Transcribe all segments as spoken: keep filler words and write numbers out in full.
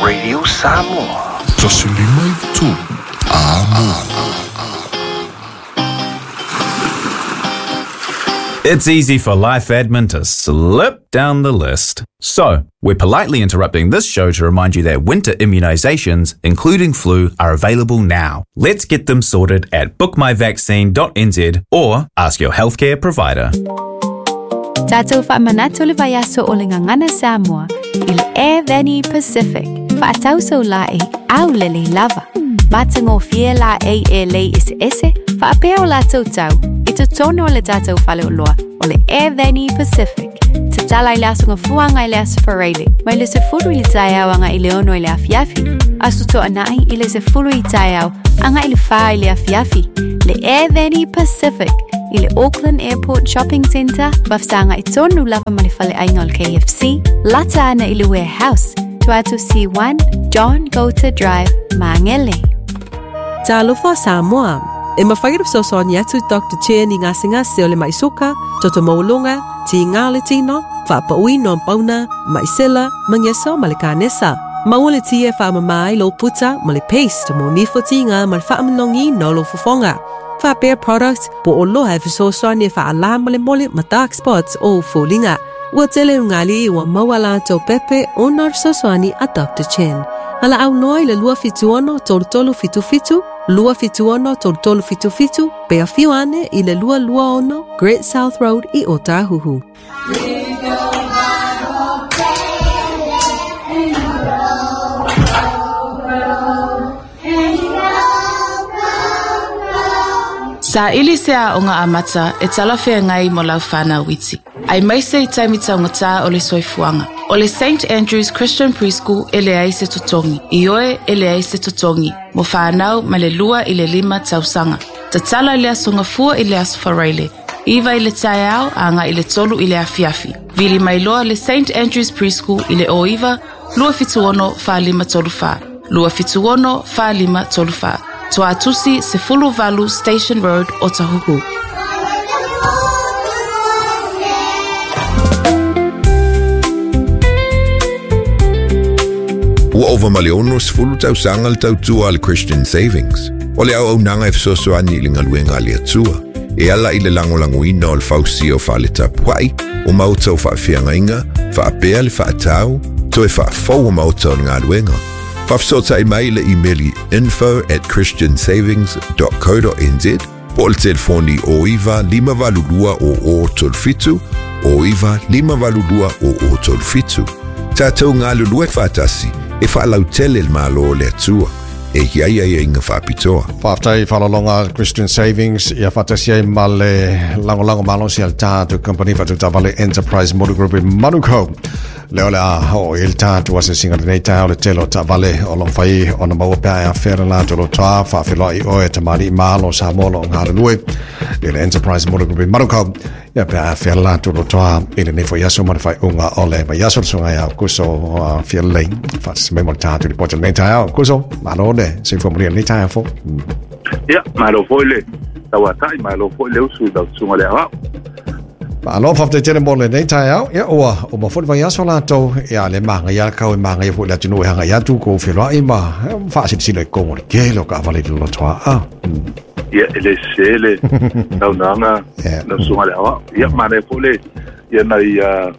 Radio Samoa. Tasi lima i tolu. Amo. It's easy for life admin to slip down the list. So, we're politely interrupting this show to remind you that winter immunisations, including flu, are available now. Let's get them sorted at book my vaccine dot n z or ask your healthcare provider. Tātou whaamanatu le vaiaso o le ngangana Samoa i le Air Pacific. Whaatauso la e au lele lava. Matango fie la e e lei ese ese, whaapea o la tautau, i totono o le tātou whaleoloa o le Air Pacific. Te tala i le aso ngafuanga i le aso whareile, mai le sefulu i le taeao anga i le ono i le afiafi, aso toa nai i le sefulu i taeao anga i le wha i le afiafi. Le Air Pacific i le Auckland Airport Shopping Centre, wafsanga i tonu lava ma le whale ainga o le K F C, lata ana i le warehouse, Tuatu C one, John Gota Drive, Mangele. Talofa Samoa. E mawhai fesoasoani atu Doctor Chen i ngasengase o le maisoka, toto maulonga, ti ngā le tino, whaapauino pauna, maisela, mangeso ma le kanesa. Maua le tia whaamamai lo puta ma le paste mo nifo tinga ma le whaamanongi no lo fofonga. Whaapea product po o loha e fesoasoani e whaala mo le mole ma dark spots o fōlinga. Ua tele ungali ua maua la tau pepe o nā fesoasoani a Doctor Chen. Ala au noa i le lua fituono tolu tolu fitu fitu, lua fituono tolu tolu fitu fitu, pea fiuane i le lua lua ono, Great South Road i Otahuhu. Sa ili se a onga amata e talawhea ngai mo lau whanau witi. Ai maise i taimita o ngata o le soifuanga. O le Saint Andrew's Christian Preschool e le ai se totongi. I oe e le ai se totongi. Mo whanau ma le lua i le lima tausanga. Tatala i le aso ngafua i le aso whareile. Iwa i le taeao a ngā i le tolu i le afiafi. Vili mailoa le Saint Andrew's Preschool i le o iwa, lua fituono wha lima tolu wha. Lua fituono wha lima tolu wha. Tuatusi Sefulu Valu Station Road, Otahuhu. Ua ova ma le ono sefulu tausaga le tautua a le Christian Savings. O le auaunaga e fesoasoani i le galuega a le Atua. E ala i le lagolagoina o le fausia o faaletapua'i, o maota o faafeagaiga, faapea le faatau, toe faafou o maota o le galuega. Faafesootai mai le imeli info at christian savings dot co dot n z po o le telefoni o iwa lima valu lua o o tolu fitu, o iwa lima valu lua o o tolu fitu. Tātou ngā lulue whaatasi e whaalautele le malo o le Atua. E hiai ai inga whaapitoa. Whaaftai whalalonga Christian Savings ia whaatasi ai ma le langolango malosi al tātou company whatutavale Enterprise Motor Group i Manukau. Le ole a ho il tātou ase singa lenei tāo le telo tavale o long whai o na maua pēa whera la tolo toa whaawheloa i oe tamari malo sa molo o ngā lue. Le le Enterprise Motor Group i Manukau ia pēa whera la tolo toa i le nefo iaso ma le whai unga ole ma iaso le sunga ia kuso whia lei whaatasi mai mo le tātou li pota lenei tāo kuso malo le se fo mo lenei tāo fo. Ia, malo foi le tauatai, malo foi le usu tau sunga le awau. Alo fa te mo le nei tai au ia ua o ma foi vai aso la to ia le manga ia kau e manga ia foi la tunu hanga ia tu ko felo ai ma fa si si le ko le ke lo ka vale lo toa a ia ele se le tau nanga na sunga le awa ia ma le foi le ia na ia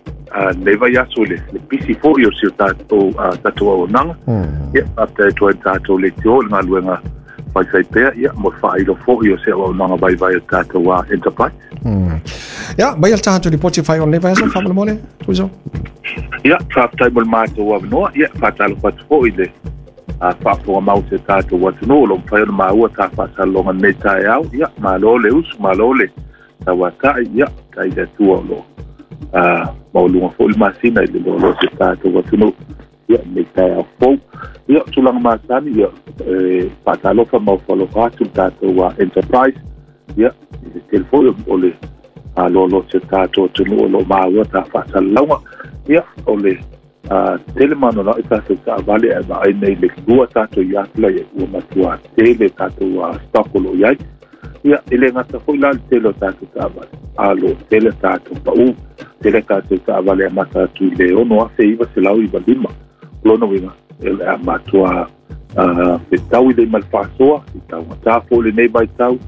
nei vai aso le le pisi foi o si ta to ta to o nanga ia ta to ta to le tio le ngaluenga fai fai pea ia mo fa ilo foi o se o nanga vai vai ta to enterprise. Mm. Ja, mai al tātou ripoti whai on lewa asa, whamana mole, tuiso? Ia, whaapatai mo le mātou awanoa, ia, whaatalo whatu i le whaafonga mau te tātou atuno, lo mwhai ona māua tā whaasalonga nei tae au, ia, malo le usu, malo le tauatai, ia, tai le atua o lo maulunga fo le masina i le lolo te tātou atuno, ia, nei tae au fou. Ia, tūlanga māsani, ia, whaatalofa mau whalofa atu tātou enterprise, ia, i le telefoni o le lolo te tātou tunu o lo māua tā whaasalonga, ia, o le tele mana la i tātou taavale e vaai nei le lua tātou i atula ia ua matua tele tātou stock o lo iai. Ia, e le ngata foi la le tele o tātou taavale. A lo tele tātou pau, tele tātou taavale a mata atu i le ono afe iwa se lau iwa lima. Lona winga, e le a matua fetau i le ma le faasoa i taugatā foi lenei vaitau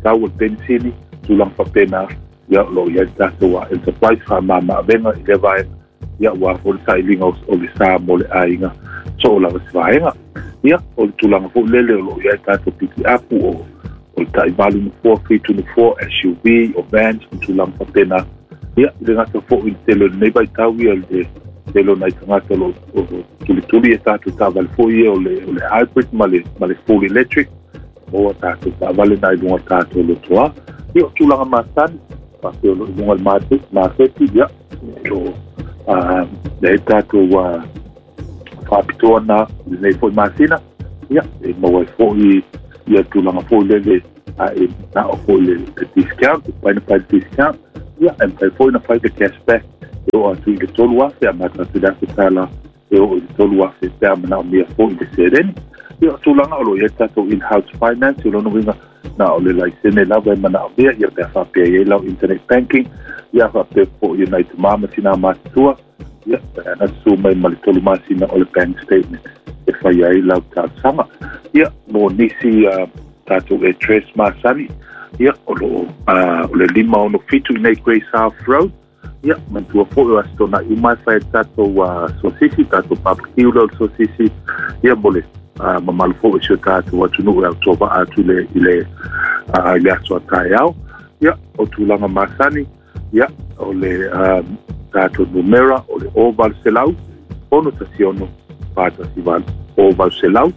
tau o le penisini tulaga faapena ia o loo iai le tatou enterprise faamamaavega i lea vaega ia ua foi le sailiga o le sa mo le aiga soo lava se vaega ia o le tulaga foi lele o loo iai tatou pikiapu o o le taivalu nofoa fitu nofoa S U V o vans ma tulaga faapena ia i le gata foi i le tele o lenei vaitau ia le tele o nai tagata o loo tulituli e tatou taavale foi ia o le o le hybrid ma le ma le full electric o tatou taavale na i luga tatou lotoa ia o tulaga masani faapea o loo i luga le maketi ia o le tatou faapitoa na lenei foi masina ia e maua ai foi ia tulaga foi lele a e nao foi le discount paina pai discount ia e mafai foi na fai le cashback e oo atu i le tolu afe amata atu i le afe tala e oo i le tolu afe pe a manaomia foi i le seleni ia o tulaga o loo iai tatou in-house finance o lona uiga na o le laisene lava e manaomia ia pe a faapea iai lau internet banking ia faapea foi i nai tamā ma tinā matutua ia na susu mai ma le tolu masina o le bank statement e fai ai lau talosaga ia mo nisi tatou address masani ia o loo o le lima ono fitu i nei Grey South Road ia manatua foi o aso tona'i uma e fai tatou sosisi tatou barbecue lea o le sosisi ia mo le mamalu foi o si o tatou atunuu e autovaa atu i le i le aso a taeao ia o tulaga masani ia o le tatou numera o le o valu selau ono tasi ono fa tasi valu o valu selau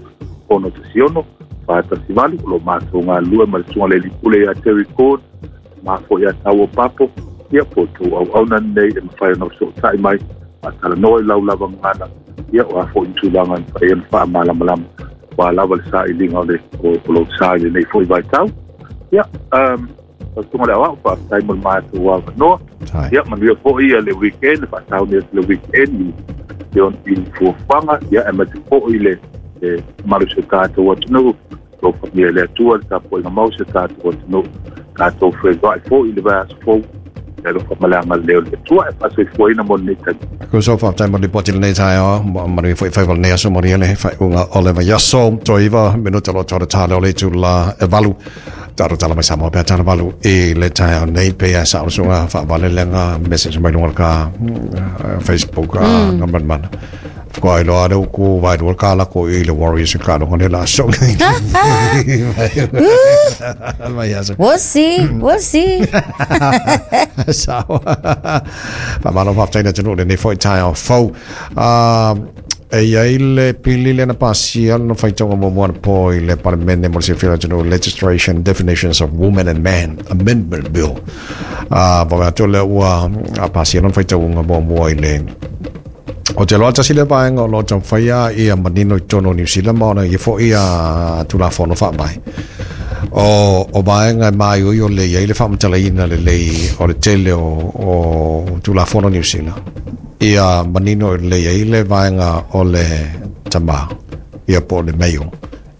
ono tasi ono fa tasi valu o lo matou galulue ma le susuga le alii pule ia Terry Cord ma foi ia tau o papo ia po tou auauna lenei e mafai ona fesootai mai faatalanoa i lau lava gagana ia o a foi ni tulaga e mafai ona faamalamalama ua lava le sailiga o le o lou sa i lenei foi vaitau ia um tautuga le aoao faafetai mo le matou avanoa ia manuia foi ia le weekend faatauni atu le weekend i i fuafuaga ia e mate foi le le mamalu o si o tatou atunuu lo faamia le Atua le tapuaiga mau si o tatou atunuu tatou fevaai foi i le vaiaso fou e alofa ma le agalelei o le Atua e faasoifuaina mo lenei taimi. Ko so faafetai mo le lipoti lenei taeao manuia foi faiva lenei aso manuia le faaiuga o le vaiaso toiva minuta lo tore tale o le itula e valu taro tala mai Samoa pea tala valu i le taeao nei pe a sa usuga faavale lega message mai luga o le ka Facebook a ngamanmana ko ai loa le uku vai lua ka la ko i le Warriors ka longa le la so. We'll see, we'll see. Sawa. Faamalo faafetai le atunuu lenei foi taeao fou. E iai le pili le na pasia no faitauga muamua na po i le Palemene mo le silafia o le atunuu Legislation Definitions of Women and Man Amendment Bill. Uh, Vaveai atu lea ua pasia lona faitauga muamua i le o te loa tasi le vaega o loo taumafai ia manino i totonu o Niu Sila ma ona ia foi ia Tulafono faavae o o vaega e maioio le iai le faamatalaina lelei o le tele o o Tulafono Niu Sila ia manino le iai le vaega o le tamā ia po o le male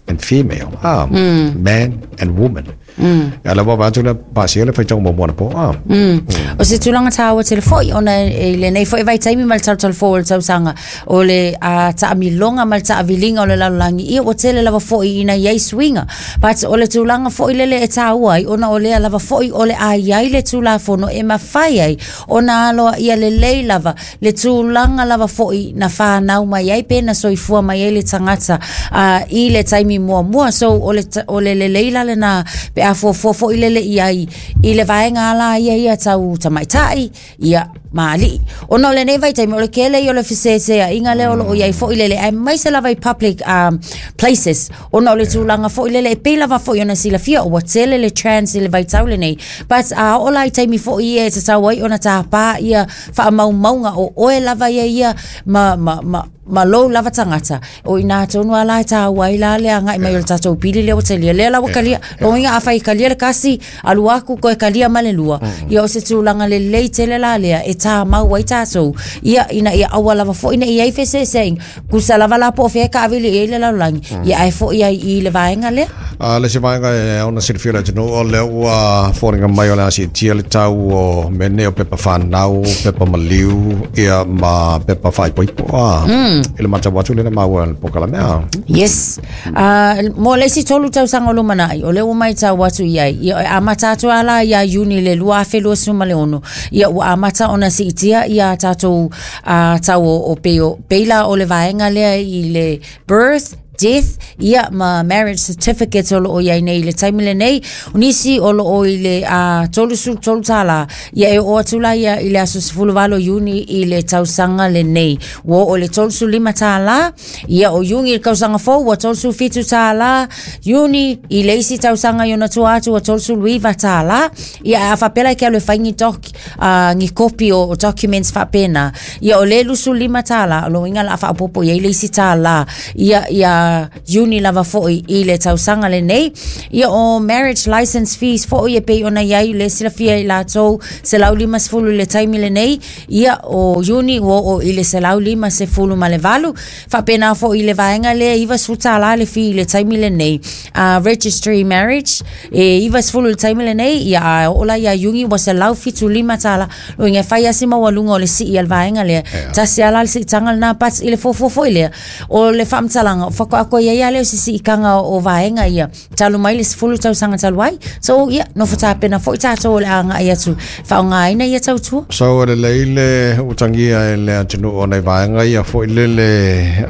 and female ah, mm. man and woman. Mm. Ia le wawa atu le pasia le faitauga muamua na po. Ah. Mm. O se tulaga tāua tele foi ona e lenei foi vaitaimi ma le talotalo o le tausaga o le uh, taamiloga ma le taaviliga o le lalolagi ia ua tele lava foi ina iai suiga but o le tulaga foi lele e tāua ai ona o lea lava foi o le a iai le tulafono e mafai ai ona aloa ia lelei lava le tulaga lava foi na whanau mai ai pe na soifua mai ai le tagata uh, i le taimi muamua so o le, o le lelei la lena pe a fuafua foi lele iai i le vaega ala ia ia tau tamaitai ia maali'i ona o lenei vaitaimi o le kele ia o le feseseaʻiga lea o loo iai foi lele aemaise lava i public um, places ona o le tulaga foi lele e pei lava foi ona silafia ua tele le trans i le vaitau lenei but a oo la i taimi foi ia e tatau ai ona tapā ia faamaumauga o oe lava ia ia ma, ma, ma ma lou lava tagata o ina tonu ala e tāua ai la le agai mai o le tatou pili lea ua talia lea la ua kalia logoiga afai kalia le kasi alu aku koe kalia ma le lua ia o se tulaga lelei tele la lea e tā mau ai tātou ia ina ia aua lava fo'i nei ai feseseaiga kusa lava la po o fea kaavili i ai le lalolagi ia ae fo'i ai i le vaega lea. A le se vaega e ona silafia le atunuu o lea ua foliga mai o le a siitia le tau o mea nei o pepa fanau, pepa maliu ia ma pepa faaipoipo a i le matau atu lena maua le polokalame a. Yes. Uh, mo le isi tolu tausaga o lumanai, o lea ua maitau atu i ai. Ia, e amata atu ala ia Iuni le lua afe lua sefulu ma le ono. Ia, ua amata ona siitia ia tātou uh, tau o, o peo. Peila o le vaega lea i le birth, death, ia ma marriage certificate o loo iai nei le taimi lenei. O nisi o loo i le uh, tolu sefulu tolu tālā. Ia e oo atu la ia i le aso sefulu valo Iuni i le tausaga lenei. Ua oo le tolu sefulu lima tālā. Ia o Iuni i le kausaga fou ua tolu sefulu fitu tālā. Iuni i le isi tausaga i ona tua atu ua tolu sefulu iva tālā. Ia a faapela e ke alu e fai ni doc, uh, ni kopi o, o documents faapena. Ia o le lusu lima tālā. O lo inga la faapopo ia i le isi tālā. Ia, ia Iuni lava fo'i i le tausaga lenei. Ia o marriage license fees fo'i e pei ona iai le silafia i latou selau lima sefulu le taimi lenei. Ia o Iuni ua oo i le selau lima sefulu ma le valu. Faapena fo'i le vaega lea iva sefulu tālā le fee i le taimi lenei. Uh, registry marriage e iva sefulu le taimi lenei. Ia a oo la ia Iuni ua selau fitu lima tālā. Lo inga fai asi maualuga o le sii al vaega lea. Tasi ala le siitaga lena but i le fuafua fo'i lea. O le faamatalaga faatoa koe ia ia leo sisi ikanga o vaega ia talu mai le sefulu tausaga talu ai. So ia nofo tapena fo'i tātou o le aga'i atu faaaogāina ia tautua. So le leile utagia e le atunuu o nai vaega ia fo'i lele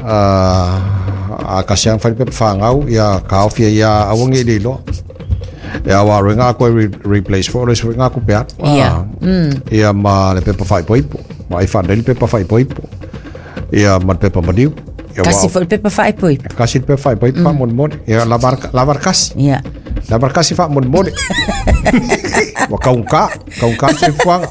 a kasiaga fai le pepa fagau ia kaofia ia aua nei le iloa. E awa roe ngā koe re replace fo le sui ngā kupe atu. Ia. Mm. Ia ma le pepa faaipoipo. Ma ai whanei le pepa faaipoipo. Ia ma le pepa maliu. Ia Kasi wa- fo'i le pepa faaipoipo. Kasi le pepa faaipoipo mm. faamolemole. Ia lavar lavar kasi. Ia. Lavar kasi faamolemole. Wa kaunka, kaunka se fuanga.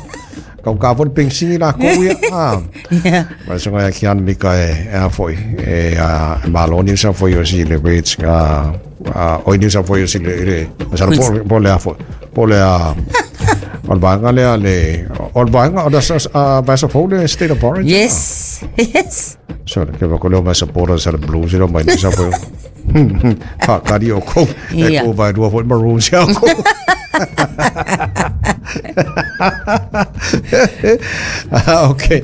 Kaunka fo le pensini la kou ia. Ah. Ia. Ma songa ia kian mika e e a foi e a malo ni sa foi o si le Reds nga a oi ni sa foi o si le le sa po po le a foi po le a o le vaega lea le o le vaega o le a vai sa fo le State of Origin. Yes. Yes. So le ke va ko le mai supporters sa le Blues le mai ni sa foi fa kari o ko e Ia. ko vai rua foi Maroons ia ko. Ah, okay.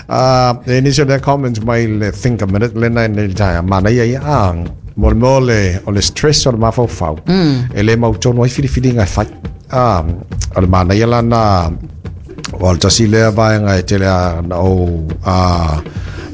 Uh, initial le comments mai le think a minute le nai le tai mana ia ia ah mo le mo le o le stress o le mafaufau. E le mau tonu ai filifiliga e fai. Ah, o le mana ia lana o le tasi lea vaega e tele a na o a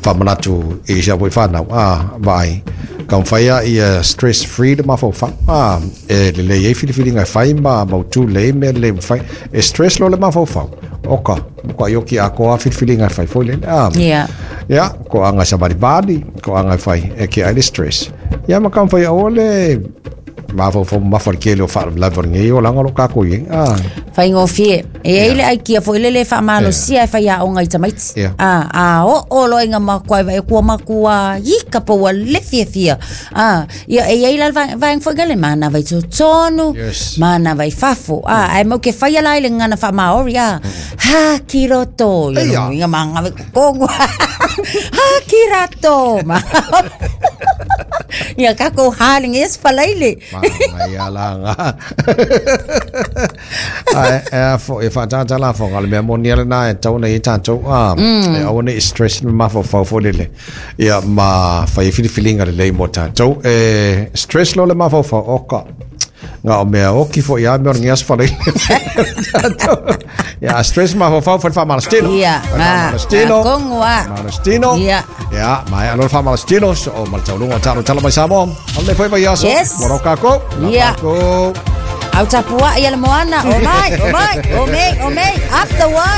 faamanatu i sia foi whanau ah vai ka whaia ia stress free le mafaufau ah e le lei e filifiliga e fai ma mautu le mea le fai e stress lo le mafaufau oka ko ioki a ko a filifiliga e fai foi le ah Ia. ia ko anga sa bali ko anga e fai e ke ai le stress ia ma ka whai o le mafaufau mafa le kele o wha ngi o langa lo kako i ah Faigofie. E ai le aikia fo'i le le faamalosia e fai aoga i tamaiti. Ia. A, a oo o loiga makua e vai kua makua ika pa ua le fiafia. A, ia e ai la le vaega vaega fo'i le mana vai totonu, Yes. mana vai fafo. A, ai mau ke fai ala i le ngana faamaori a. Ha ki roto. Ia Eia. lo inga manga vai kongo. Ha ki rato. Ma. Ia kako haling es falaile. Ma mai ala nga. Ai e fo e fa ta la fo ngale mea moni ala na e tau nei tātou a e aua nei stress le mafaufau fo lele. Ia ma fai filifilinga le lei mo tātou e stress lo le mafaufau oka. Ngā o mea oki fo ia mea o ngeas whare. Ia stress mafaufau fo le whamalastino. Ia, Fo le ah, whamalastino. ah, kongo a. Whamalastino. Ia. Ia, mai alo le whamalastino. So o maltaulunga talo talo mai Samoa. Ale foi vai aso. Yes. Moroka ko. Ia. Ko. Au tapua ia le moana. O mai, o mai, o mei, o mei, up the one.